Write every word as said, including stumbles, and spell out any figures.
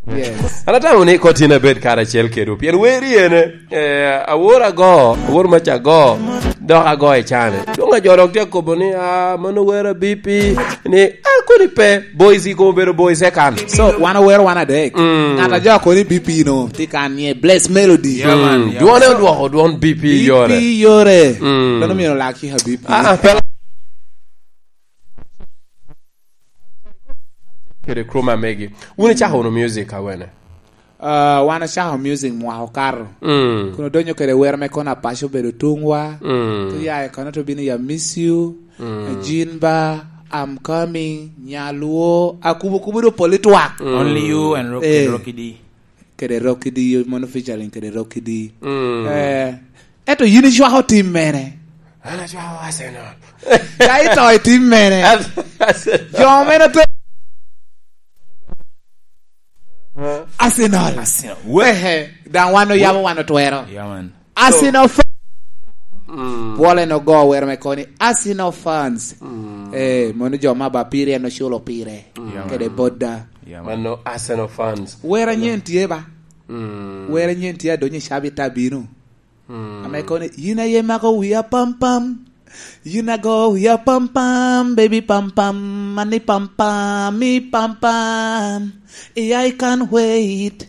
Yes. An atamo ni kot in abed karacel kedwu, pien weri ene, eh, awor ago, awor mac ago, dok ago i cane. Doŋ ajo dok tye akobo ni, "Ah, mano wer a B P," ni, "Ah, kodi pe, boys i kobo bedo boys e kan." So, wan owero wan adek. Mm. Ŋat a jo koni B P no, ti kan nye Bless Melody. Yeah, man, yeah, dwone man. Odwoko, dwon B P yore. B P yore. Mm. Dono myero lak cika B P. Ah, ah, pe- kede crew ma megi. Wun icako wunu music awene? Ah, wan ocako music mwaka okato. Mm. Kun odonyo kede wer me kono apaco obedo tungwa. Mm. Ti ya i kono to bino ya Miss You, mm, Jinba, I'm Coming, Nyaluo, akubo kubo do poli twak. Mm. Only You and Rock-, eh, Rocky D. Kede Rocky D, mono featuring kede Rocky D. Mm. Eh, eto yin icwako tim mene? An acwako Arsenal. Ka ito i tim mene? Ar-, Arsenal. Jo mene to Arsenal. Arsenal. Ehe, daŋ wan oyabo, wan otwero. Yeah, man. Arsenal fa-, mm, bwole no go wer me koni Arsenal fans. Mm. Eh, mono jo ma ba pire en oculo pire. Mm. Yeah, man. Kede boda. Yeah, man. Mano Arsenal fans. Wer anyen tye ba? Mm. Wer anyen tye adonyo i cabit abino. Mm. Ame koni, "Yin aye mako wia pam pam. Yin ago wia pam pam, baby pam pam, mani pam pam, mi pam pam. Yeah, I can't wait."